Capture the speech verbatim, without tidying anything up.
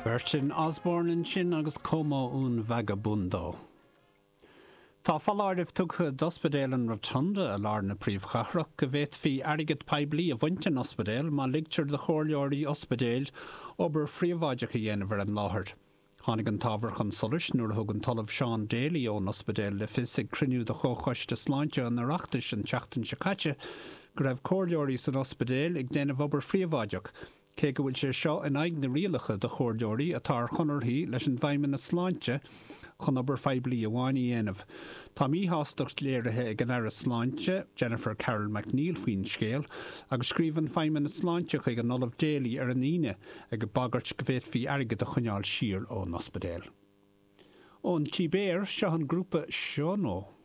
Berton Osborne ansin agus Como un Vagabundo. Tá foláireamh tugtha d'ospidéal an Rotunda i lár na príomhchathrach go bhféadfaí airgead poiblí a bhaint den ospidéal má ligtear do chomhairleoirí ospidéil obair phríobháideach a dhéanamh ar an láthair. Tháinig an t-ábhar chun solais nuair a thug an tOllamh Seán Daly ón ospidéal le fios ag cruinniú de Chomhchoiste Sláinte an Oireachtais an tseachtain seo caite go raibh comhairleoirí san ospidéal ag déanamh obair phríobháideach, cé go bhfuil sé seo in aghaidh na rialacha do chomhairleoirí atá ar chonarthaí leis an bhFeidhmeannas Sláinte chun obair phoiblí amháin a dhéanamh. Tá míshástacht léirithe ag an Aire Sláinte, Jennifer Carroll MacNeill faoin scéal, agus scríobh an Feidhmeannas Sláinte chuig an Ollamh Daly ar an Aoine ag bagairt go bhféadfaí airgead a choinneáil siar ón ospidéal. Ón tSibéir, seo an grúpa Shono.